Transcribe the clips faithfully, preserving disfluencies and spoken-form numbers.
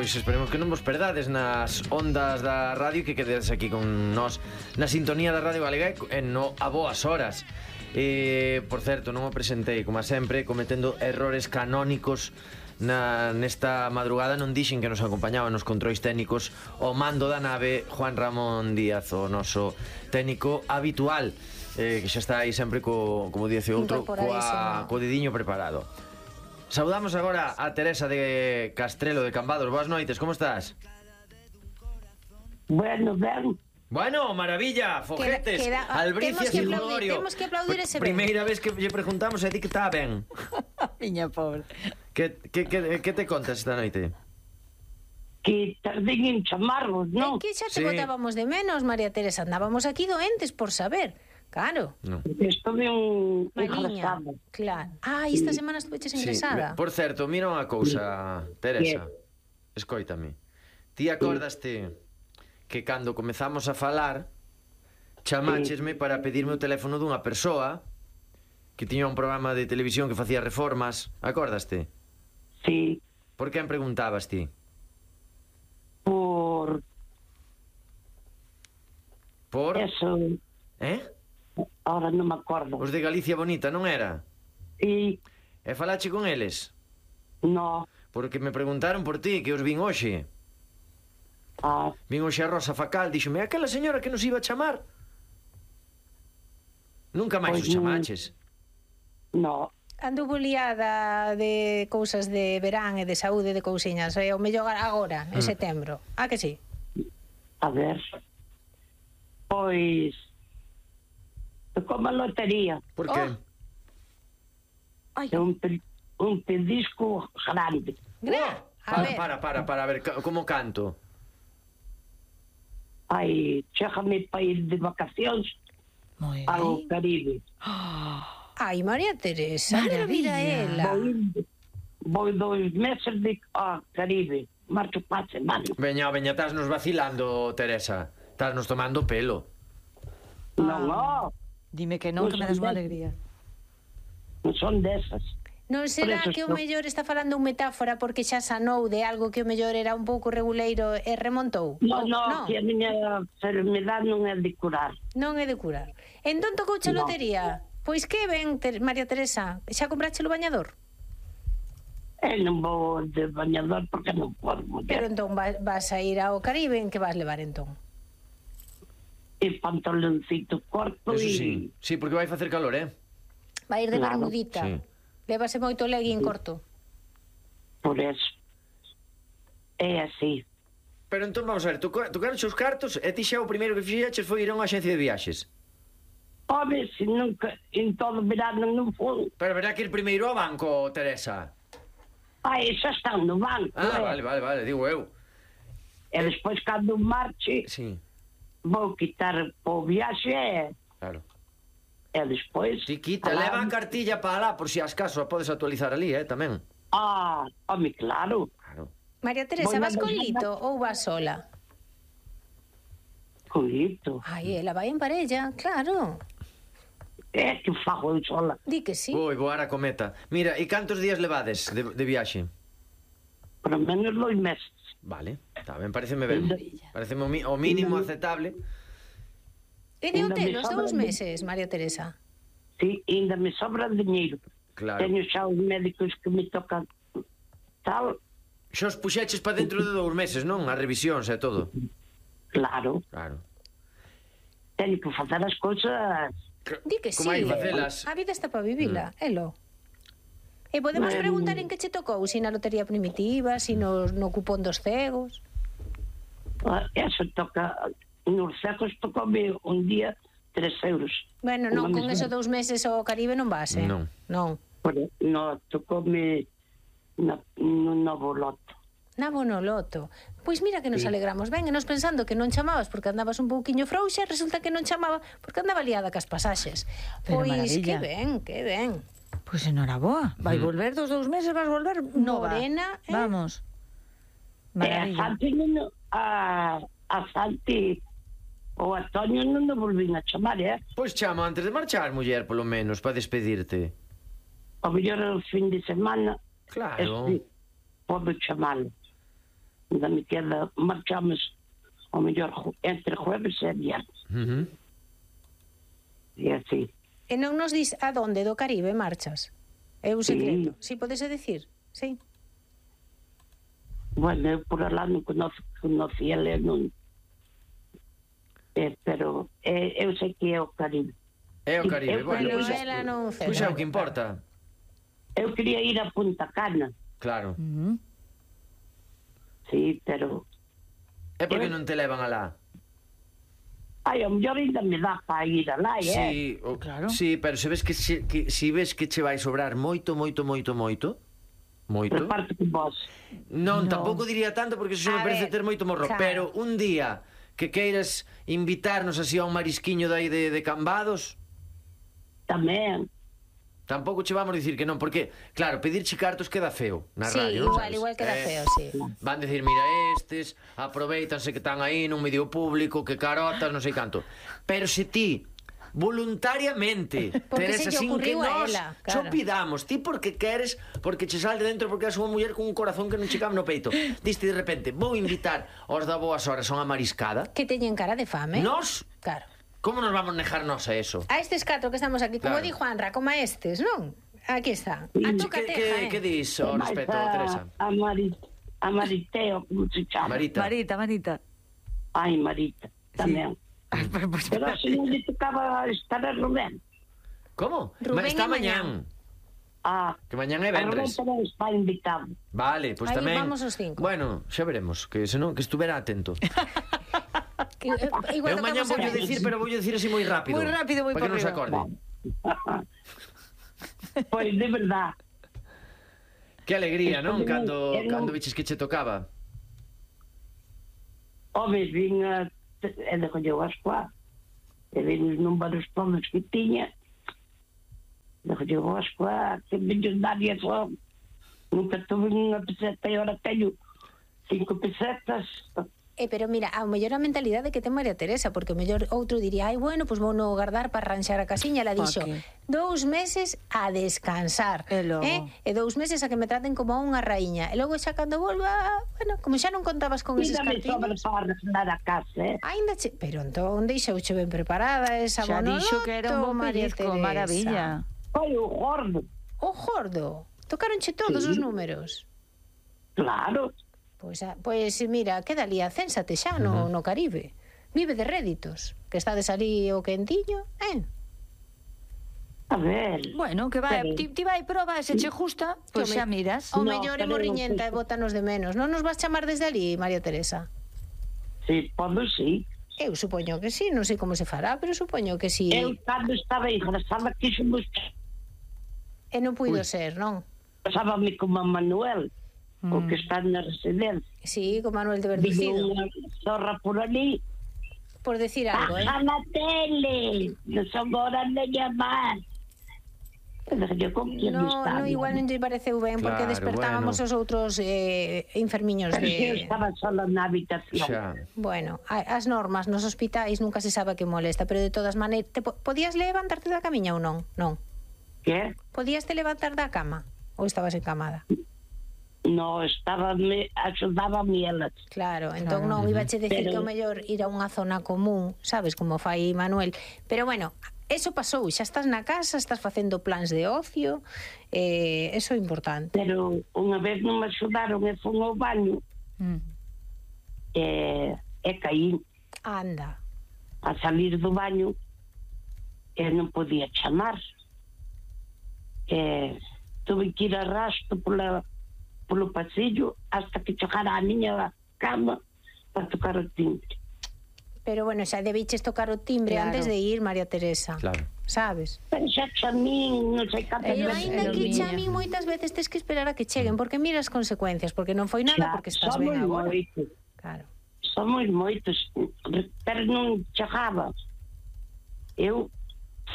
pois esperemos que non vos perdades nas ondas da radio, que quededes aquí con nós na sintonía da Radio Galega e no a boas horas. E, por certo, non o presentei, como sempre, cometendo errores canónicos na, nesta madrugada. Non dixen que nos acompañaban nos controis técnicos o mando da nave Juan Ramón Díaz, o noso técnico habitual, eh, que xa está aí sempre co, como dice outro, coa, co dediño preparado. Saudamos agora a Teresa de Castrelo de Cambados. Boas noites, como estás? Bueno, ben. Bueno, maravilla, foguetes, queda, queda, albricias e lorio. Temos que aplaudir ese ben. Primeira vez que lle preguntamos a ti que está ben. Miña pobre. Que, que, que, que te contas esta noite? Que tardín en chamarvos, non? É que xa te Sí. botábamos de menos, María Teresa. Andábamos aquí doentes por saber. Claro. No. Estuve un Maliña. ingresado. Claro. Ah, esta semana estuveches ingresada. Sí. Por certo, mira unha cousa, Teresa. Escoítame. Ti acordaste que cando comezamos a falar chamáchesme para pedirme o teléfono dunha persoa que tiña un programa de televisión que facía reformas? Acordaste? Sí, Por quen preguntabas ti? por Por... eso, Eh? ahora non me acordo. Os de Galicia Bonita, non era? E E falache con eles? no, Porque me preguntaron por ti, que os vin hoxe. ah, Vin hoxe a Rosa Facal, díxome, aquela señora que nos iba a chamar. Nunca máis Pois os chamaches. no, Anduvo liada de cousas de verán e de saúde de cousiñas. E o mellor agora, en Mm. setembro. Ah, que sí? a ver. Pois como a lotería, Por que? Oh. Ai, é un, pe- un pedisco grande. gra- a Para, ver. para, para, para, a ver, ca- como canto? Ai, chéjame para ir de vacacións Moi ao ben. Caribe. Ai, María Teresa, mira, mira ela. Vou, ir- vou dois meses de ao Caribe. Marcho para a semana. Veña, veña, estás nos vacilando, Teresa. Estás nos tomando pelo. Non, no, Dime que non, que me das unha alegría. non son desas. Non será Por eso que o estou- mellor está falando un metáfora porque xa sanou de algo que o mellor era un pouco reguleiro e remontou? Non, Ou- non, que a miña enfermedade non é de curar. Non é de curar. Entón tocouche a No. lotería. Pois que ben, ter, María Teresa, xa comprache o bañador? E non vou de bañador porque non podo Pero mulher. entón va- vas a ir ao Caribe, en que vas levar entón? E pantaloncito corto Eso e... sí. Sí, porque vai facer calor, eh? Vai ir de Claro, bermudita. sí. Levase moito legging corto. Por eso. É así. Pero entón vamos a ver, tu, tu os cartos e ti xa o primeiro que fixeches foi ir a unha agencia de viaxes. Home, se nunca, en todo verano non foi. Pero verá que ir primeiro ao banco, Teresa. Ai, xa están no banco. Ah, eh. vale, vale, vale, digo eu. E despois, cando marche, Sí, vou quitar o viaxe e... claro. E despois... Ti quita, alá- leva a cartilla para lá, por si as caso a podes actualizar ali, eh, tamén. Ah, home, claro. Claro. María Teresa, Voy vas a con mandar- Lito ou vas sola? Coito. Ai, ela vai en parella, claro. É que fago eu sola. Di que sí. Vou voar a cometa. Mira, e cantos días levades de, de viaxe? Por lo menos dois meses. Vale, está ben, pareceme ben. Maravilla. Pareceme o, mi, o mínimo aceptable. E de Ainda hotel me os sobra dous de- meses, María Teresa. Sí, ainda me sobra dinheiro. Claro. Teño xa os médicos que me tocan tal, Xa os puxeches para dentro de dous meses, non? As revisións e todo. claro. Claro. Teño que facer as cousas. Di que sí. Como hai que facelas? A vida está para vivila, mm. elo. E podemos Bueno. preguntar en que che tocou, si na lotería primitiva, si no, no cupón dos cegos. Ah, Eso toca, nos cegos tocoume un día tres euros. Bueno, non, Unha con mesma- esos dous meses ao Caribe non vas, eh? Non. Non. Pero no, tocoume na, no novo loto. Na Bonoloto. Pois mira que nos Sí. alegramos ben, e nos pensando que non chamabas porque andabas un pouquiño frouxa, resulta que non chamaba porque andaba liada cas pasaxes. Pero Pois que maravilla. ben, que ben. Pois pues enhoraboa. Vai volver dos dous meses, vas volver nova. Morena, eh? Vamos. E a Maravilla. Santi, non- a, a Santi o a Toño non nos volvín a chamar, eh? Pois chama antes de marchar, muller, polo menos, para despedirte. O mellor o fin de semana, Claro. este, podo chamalo. Ainda me queda, marchamos ao mellor entre jueves e viernes. Uh -huh. E así. E non nos dis a donde do Caribe marchas? É un secreto. Si, sí, podese decir? Sí. Bueno, eu por alá non conoce, conocí ele, non... Eh, pero eh, eu sei que é o Caribe. É o Caribe, Eu, bueno. Pero Pois ela non pois é o que importa. Eu quería ir a Punta Cana, Claro. Mm. sí, pero... É porque non te levan alá. Ai, ao mellor ainda me dá para ir alá, eh? Sí, o, Claro. sí, pero se ves que se, que, si ves que che vai sobrar moito, moito, moito, moito, moito. Reparte con vos. Non, No. tampouco diría tanto porque eso A me parece ver, ter moito morro, claro. pero un día que queiras invitarnos así a un marisquiño de aí de, de Cambados, Tamén. tampouco che vamos dicir que non, porque, claro, pedirche cartos queda feo na Sí, radio, non igual, sabes? igual queda Eh, feo, sí. Van decir, mira estes, aproveitanse que están aí nun medio público, que carotas, non sei canto. Pero se ti voluntariamente, Porque Teresa, se lle sin que ocurriu a nós ela, cho claro. pidamos, ti porque queres, porque che sale de dentro, porque és unha muller con un corazón que non che cabe no peito. Diste de repente, vou invitar aos da Boas Horas a unha mariscada. Que teñen cara de fame. Nós, Claro. como nos vamos nejarnos a eso? A estes catro que estamos aquí, como Claro. di Juanra, como a estes, non? Aquí está. A Que, toca que, teja, eh? que dis ao Mais respecto, a, Teresa? a, Mari, a Mariteo, como se chama? Marita. Marita, Marita. Ai, Marita, tamén. Ay, pero, pues, Pero se non lle tocaba estar a Rubén. Como? Rubén Ma- está e mañán. mañán. Ah, Que mañán é a Rubén vendres. tamén está invitado. Vale, pois Aí tamén. vamos os cinco. Bueno, xa veremos, que senón que estuvera atento. Que, eh, igual Eu mañán tocamos voulle a- dicir, pero voulle dicir así moi rápido. Moi rápido, moi para que por non se riba. acorde. Pois, de verdad. Que alegría, non? Estou Cando eu non- cando viches que che tocaba. Home, vin a... E de colleu as cuatro. E vin os números todos que tiña. De colleu as cuatro. Que millonaria son. Nunca tuve unha peseta e ahora teño cinco pesetas. Eh, pero mira, ao mellor a mentalidade que ten María Teresa, porque o mellor outro diría, ai, bueno, pois pues vou no guardar para arranxar a casiña. Ela Pa dixo, que? dous meses a descansar. E logo? Eh? E dous meses a que me traten como a unha raíña. E logo xa cando volva, bueno, como xa non contabas con eses Mira, me sobra cartiños... para arreglar a casa, eh? Ainda che... Pero entón deixouche ben preparada esa xa monoloto, dixo que era un bo María pellizco, Teresa. maravilla. Foi o gordo. O gordo. Tocaronche todos Sí. os números. Claro. Pois, a, pois mira, queda ali, acénsate xa no, no Caribe. Vive de réditos, que estades ali o quentiño, eh? A ver. Bueno, que vai, Pero- ti, ti vai proba, se che justa, pois Que o xa me- miras. O No, mellor é pero morriñenta e non sei. bótanos de menos. Non nos vas chamar desde ali, María Teresa? Sí, podo sí. Eu supoño que sí, non sei como se fará, pero supoño que sí. Eu, cando estaba engrasada, quixo buscar. E non puido ser, non? Pasábame como a Manuel, Mm. o que está na residencia. Sí, con Manuel de Vive Verducido. unha zorra por ali. Por decir algo, eh? Baja na tele, non son horas de llamar. Pero yo con quién No, estaba? no, igual non lle pareceu ben, porque Claro, despertábamos bueno. os outros eh, enfermiños Pero eu de... estaba sola na habitación. Xa. Bueno, a- as normas nos hospitais nunca se sabe que molesta, pero de todas maneiras, te po- podías levantarte da camiña ou non? Non. Que? Podías te levantar da cama? Ou estabas encamada? No, estaba, me, axudaba a elas. Claro, entón Claro. non iba che decir Pero- que o mellor ir a unha zona común, sabes, como fai Manuel. Pero bueno, eso pasou, xa estás na casa, estás facendo plans de ocio, eh, eso é importante. Pero unha vez non me axudaron e fun ao baño Mm. e, e caí Anda. a salir do baño e non podía chamar. E tuve que ir a rastro pola, polo pasillo hasta que chegara a miña cama para tocar o timbre. Pero bueno, xa debiches tocar o timbre Claro. antes de ir, María Teresa. Claro. Sabes? Pero xa chamín, non sei cantas Pero Ellos- veces. ainda era que miña. chamin moitas veces tes que esperar a que cheguen, porque mira as consecuencias, porque non foi nada, Xa, porque estás somos ben agora. moitos, Claro. somos moitos, pero non chegaba. Eu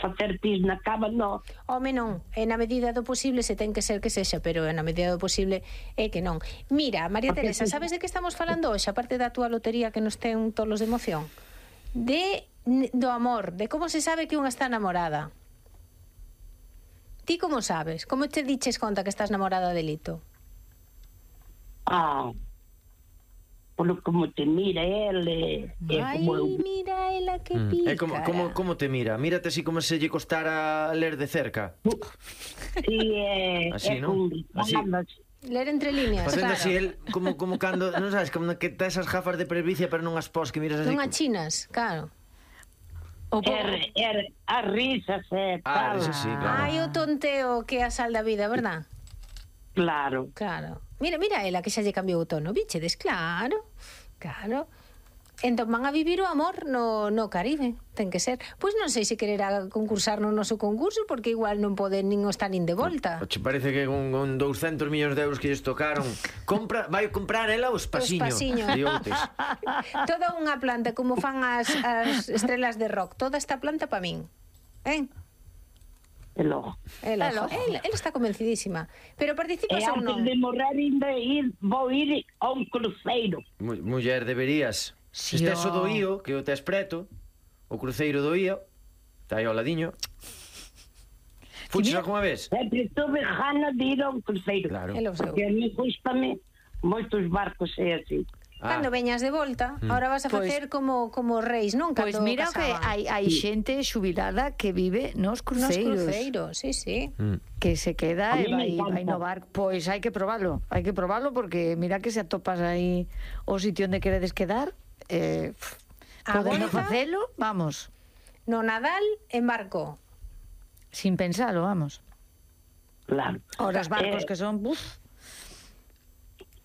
facer pis na cama, non. Home, non, é na medida do posible, se ten que ser que sexa, pero é na medida do posible é que non. Mira, María Porque Teresa, si- sabes de que estamos falando hoxe, aparte da túa lotería que nos ten tolos de emoción? De n- do amor, de como se sabe que unha está namorada. Ti como sabes? Como te diches conta que estás namorada de Lito? Ah, polo como te mira el, e, e Ai, como eu. mira ela que Mm. pícara. É como, como, como te mira? Mírate así como se lle costara ler de cerca. E é, Así, é non? con Así. risadas. Ler entre líneas, Facendo claro. así el, como, como cando, non sabes, como que tá esas gafas de presbicia pero non as pos, que miras así. Non achinas, claro. O po- Er, er, as risas e Ah, tal. eso sí, claro. Ai, o tonteo que é a sal da vida, verdad? Claro. Claro. Mira, mira ela que xa lle cambiou o tono, bichedes, claro. Claro. Entón van a vivir o amor no, no Caribe, ten que ser. Pois non sei se quererá concursar no noso concurso, porque igual non poden nin estar nin de volta. O che parece que con, con douscentos millóns de euros que lles tocaron, compra, vai comprar ela os pasiños. pasiños. De Outes. Toda unha planta, como fan as, as estrelas de rock, toda esta planta pa min. Ben? E logo. Ela, Ela, ela, ela está convencidísima. Pero E participas ou antes non? de morrer ainda ir, vou ir a un cruceiro. Mu- Muller, deberías. Si, Si estés o do ó. Ío, que o tes preto, o cruceiro do Ío, está aí ao ladiño. Fuches mira- algunha vez? Sempre tuve gana de ir a un cruceiro. Claro. Ela o seu. Porque a mí gustame moitos barcos e así. Ah, Cando veñas de volta, ahora vas a Pois- facer como como reis, non? Pois Cando mira que casaban. hai, hai xente xubilada que vive nos Nos cruceiros. cruceiros, sí, sí. mm. Que se queda A e mí me vai, encanta. vai no barco. Pois hai que probalo, hai que probalo porque mira que se atopas aí o sitio onde queredes quedar, eh, A podemos volta? facelo, vamos, No Nadal, en barco. sin pensalo, vamos. Claro. Ahora os barcos Eh, que son, buf,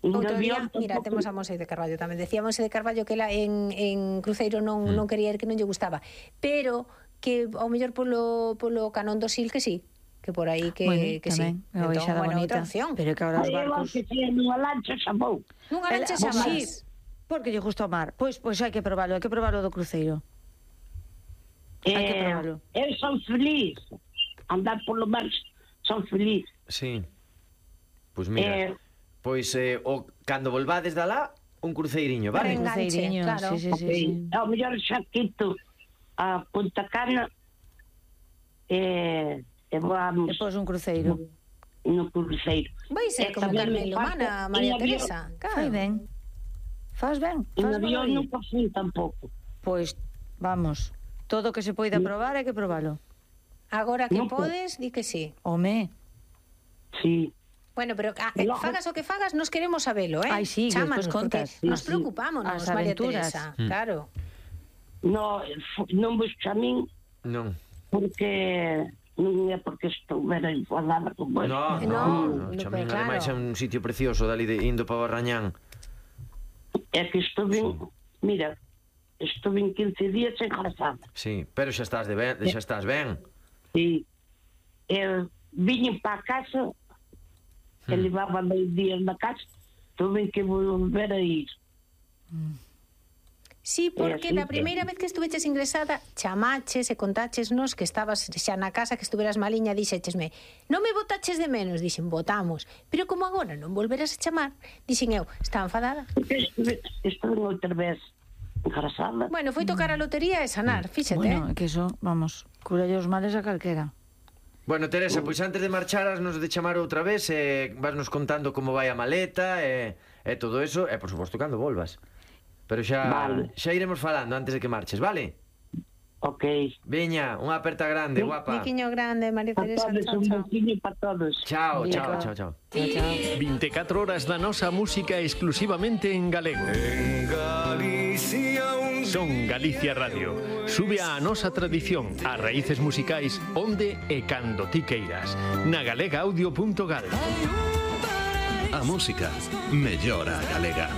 no Outro día, avión mira, tampouco- temos a Monse de Carballo tamén. Decía Monse de Carballo que ela en, en cruceiro non, non quería ir, que non lle gustaba. Pero que ao mellor polo, polo Canón do Sil que sí. Que por aí que, bueno, que sí. tamén, unha Entón, baixada bueno, outra bonita. opción. Pero que ahora os Aí eu, barcos... que sea nunha lancha, xa vou. Nunha lancha Ela- xa sí, máis. porque lle gusta o mar. Pois, pois hai que probalo, hai que probalo do cruceiro. Hai que Eh, probalo. eu son feliz. Andar polo mar son feliz. Sí. Pois mira, Eh, pois eh, o, cando volvades da lá, un cruceiriño, vale? Venga. enganche, Cruceiriño, claro. sí, sí, sí, ok. sí. Ao mellor xa quito a Punta Cana e, e vamos Depois un cruceiro. no cruceiro. Vai ser E como tamén Carmen me Lomana, falta María en avión. Teresa. Fai Claro. ben. Faz ben, En faz avión ben. nunca fui tampouco. Pois, vamos, todo o que se poida probar hai que probalo. Agora que Non po- podes, di que sí. Home, Sí. Bueno, pero ah, E eh, logo- fagas o que fagas, nos queremos sabelo, eh? Ai, sí, que Chámanos, despois contas. porque Nos Sí, sí. preocupámonos, As María aventuras. Teresa. Mm. Claro. No, fu- non vos chamín Non. porque non é porque estouvera enfadada con vos. No, No, no, no, no, Chamín, pero ademais é claro. un sitio precioso dali de indo para Barrañán. É que estuve, mira, estuve en quince días engrasada. Sí, pero xa estás de ben, xa estás ben. Sí. Eu viñen para a casa, que Hmm. levaba dois días na casa, tuve que volver a ir. Sí, porque así la que- primeira vez que estuveches ingresada, chamaches e contaches nos que estabas xa na casa, que estuveras maliña, dixéchesme, non me botaches de menos, dixen, botamos. Pero como agora non volveras a chamar, dixen eu, está enfadada. Porque estuve, estuve outra vez engrasada. Bueno, foi tocar a lotería e sanar, fíxate. bueno, é que eso, vamos, curalle os males a calquera. Bueno, Teresa, pois antes de marchar nos de chamar outra vez e eh, vasnos contando como vai a maleta e, e todo eso, e por suposto cando volvas. Pero xa Vale. xa iremos falando antes de que marches, vale? Ok. Veña, unha aperta grande, guapa. Miquiño grande, María Para Teresa, todos, chao, un chao. bocino para todos. Chao, chao, Venga. chao, chao. Chao, chao. vinte e catro horas da nosa música exclusivamente en galego. En Galicia un Son Galicia Radio. Sube a nosa tradición, as raíces musicais onde e cando ti queiras. Na galega audio punto gal. A música mellora a galega.